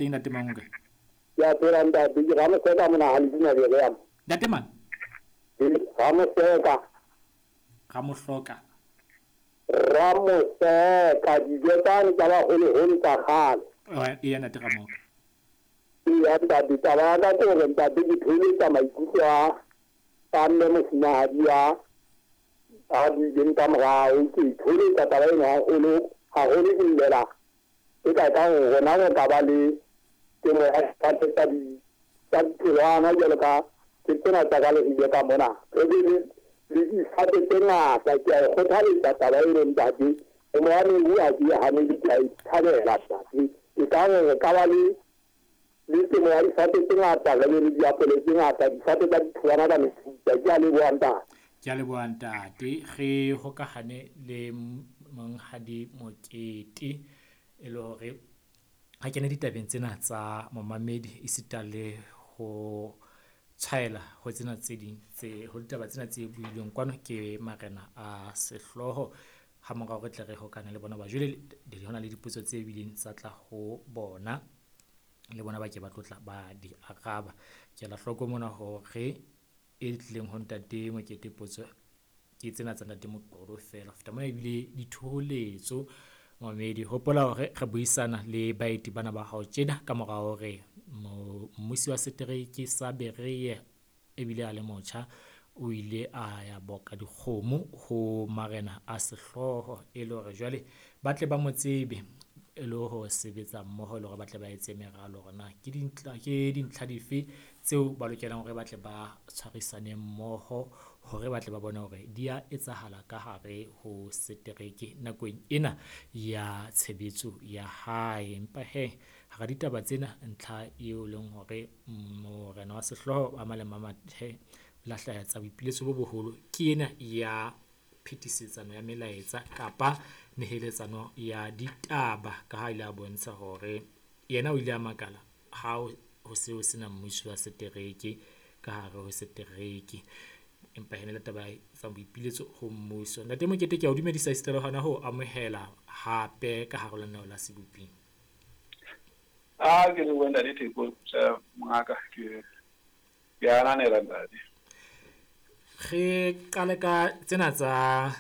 Teng ntate Mangoka. Ke a phela ntate, ke Ramoseka mona ha le dina Berea. Ntate mang? Ramoseka. Ramohloka. Ramoseka, dijo tsane tsa baholoholo tsa kgale. Eya ntate Ramoka. Eya ntate, taba ya ka ke hore ntate ke theoletsa maikutlo a a mme mofumahadi a a buileng ka morao. Ke theoletsa taba eno haholo haholo, ke llela e ka ka hore rona re ka ba le temo ya difate tsa di tsa ditholwana jwalo ka ke tsena tsa ka Leribe ka mona. Re be le le difate tse ngata. Ke a e kgothaletsa taba eno ntate. Temo ya mebu ha ke e hanele, ke a e thabela ntate. E ka hore re ka ba le le temo ya difate tse ngata, re be le diapole tse ngata, difate tsa ditholwana ka mefuta. Ke a leboha ntate. Ke a leboha ntate. Re hokahane le Monghadi Mokete e le hore ha kene ditabeng tsena tsa momamedi esita le ho tshwaela ho tsena tse ding tse ho ditaba tsena tse builweng kwano ke marena a sehlooho. Ha morao re tle re hokane le bona ba jwale ho na le dipotso tse bileng tsa tla ho bona le bona ba ke ba tlotla ba di araba. Ke ela hloko mona hore e tlileng ho ntate Mokete potso ke tsena tsa ntate Moqolo feela. Ho feta mona ebile dithoholetso momamedi. Hopola hore re buisana le baeti bana ba hao tjena ka mora hore mmusi wa setereke sa Berea ebile a le motjha o ile a ya boka dikgomo ho marena a sehlooho e le hore jwale ba tle ba mo tsebe e le ho sebetsa mmoho le hore ba tle ba etse meralo hore na ke dintlha ke dintlha dife tseo ba lokelang hore ba tle ba tshwarisane mmoho hore ba tle ba bone hore di a etsahala ka hare ho setereke nakong ena ya tshebetso ya hae. Empa hee hara ditaba tsena ntlha eo leng hore morena wa sehlooho wa Malema Mathe la hlaha tsa boipiletso bo boholo ke ena ya phetisetsano ya melaetsa kapa neheletsano ya ditaba ka ha ile a bontsha hore yena o ile a makala ha ho se ho sena mmuso wa setereke ka hare ho setereke. Empa ene le taba tsa boipiletso ho mmuso. Ntate Mokete, ke a o dumedisa esita le hona ho amohela hape ka hare ho lenaneo la Seboping. A ke lebohe ntate Theko, mongaka, ke ananela ntate. Re qale ka tsena tsa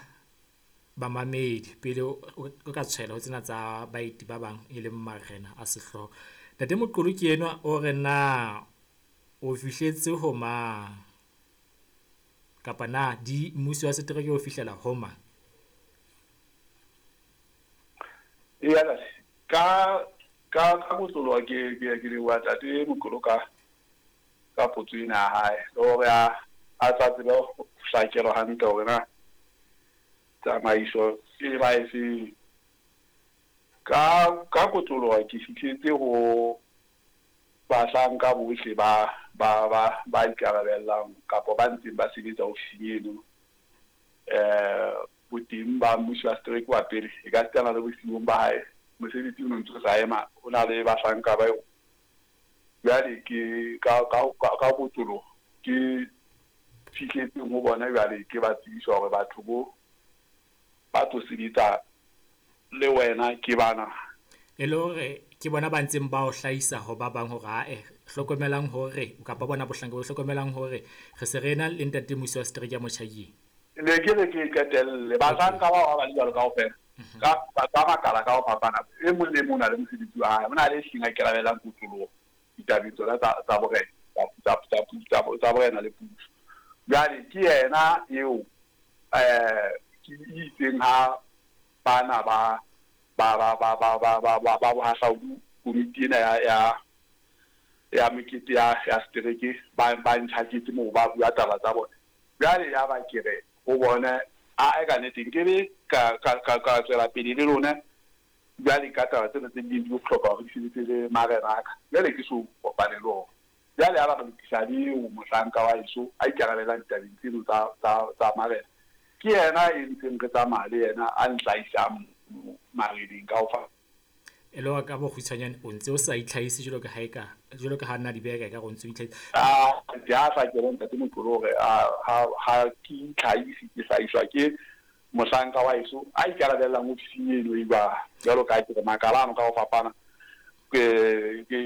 bamamedi pele o ka tshwela ho tsena tsa baeti ba bang e leng marena a sehlooho. Ntate Moqolo ke enwa o re na o fihletse ho mang kapa na di mmuso wa setereke o fihlela ho mang? Eya ntate, ka ka ka kotloloha ke ke ke leboha ntate Moqolo ka ka potso ena ya hae le hore a a tla tsebe ho hlakelwa hantle hore na tsamaiso e ba efeng. Ka ka kotloloha ke fihletse ho bahlanka bohle ba ba ba ba ikarabellang kapa ba ntseng ba sebetsa ofising eno. Boteng ba mmusi wa setereke wa pele e ka sitana le bosiung ba hae mosebetsi o no ntso sa ema, ho na le bahlanka ba jwale ke ka ka ka kotloloho ke fihletseng ho bona jwale ke ba tsebisa hore batho bo ba tlo sebetsa le wena ke bana. E le hore ke bona ba ntseng ba o hlahisa ho ba bang hore ae hlokomelang hore kapa bona bohlanka bo hlokomelang hore re se re na le ntate mmusi wa setereke ya Motjhakeng. Ne ke re ke qetelle bahlanka bao ba ba le jwalo kaofela ka ka makala ka ho fapana, e mong le mong o na le mosebetsi wa hae, ho na le hlileng a ikarabellang kotloloho ditabeng tsona tsa tsa borena tsa tsa tsa tsa borena le puso. Jwale ke yena eo ke itseng ha bana ba ba ba ba ba ba ba ba ba bohahlaudi komiti ena ya ya ya mekete ya ya setereke ba ba ntjhaketse moo ba bua taba tsa bona. Jwale ya ba ke re ho bona ae ka nnete nkebe ka ka ka ka tswela pele le lona jwale ka taba tsena tse ding di bohlokwa hore di sebetse le marena a ka. Jwale ke so kopane le ona. Jwale ya ba re lokisa le eo mohlanka wa heso a ikarabelang ditabeng tseno tsa tsa tsa marena. Ke yena e ntseng re tsamaya le yena a nhlahisang mareneng ka ho fa. E le hore ka bokgutshwanyane o ntse o sa itlhahise jwalo ka ha eka jwalo ka ha nna di beha ka o ntse o itlhahisa. A ke a hlakele ntate Moqolo hore ha ha ke itlhahise, ke hlahiswa ke mohlanka wa heso a ikarabellang ofising eno e jwalo. Jwalo ka ha ke re makala ano ka ho fapana Ke